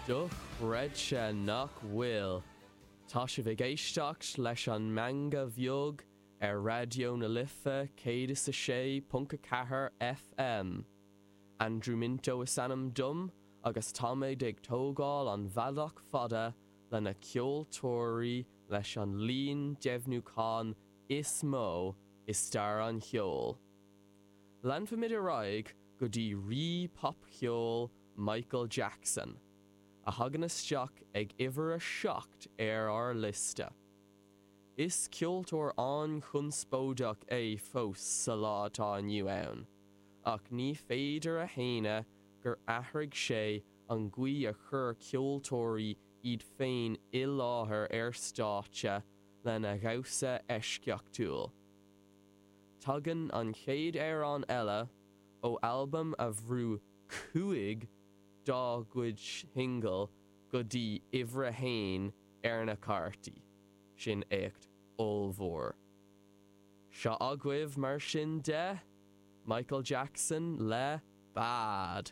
Dochreidte nach bhfuil! Tá sibh ag éisteacht leis an Meangadh Bheag ar Raidió na Life 106.4 FM. Andrew Minto is ainm dom agus táimid ag tógáil an bhealach fada le na ceoltóirí leis an líon deimhniúchán is mó i stair an cheoil. Leanfaimid ar aghaidh go dtí rí popcheoil Michael Jackson, a thagann isteach ag uimhir a 7 ar ár liosta. Is ceoltóir an-chonspóideach é fós sa lá atá inniu ann, ach ní féidir a shéanadh gur athraigh sé an gcaoi a chuir ceoltóirí iad féin i láthair ar stáitse lena dhamhsa eisceachtúil. Tagann an chéad amhrán eile ó albam a bhrú 5 dá gcuid shingil go dtí uimhir a haon ar na cártaí, sin éacht ollmhór. Seo agaibh mar sin de, Michael Jackson le Bad.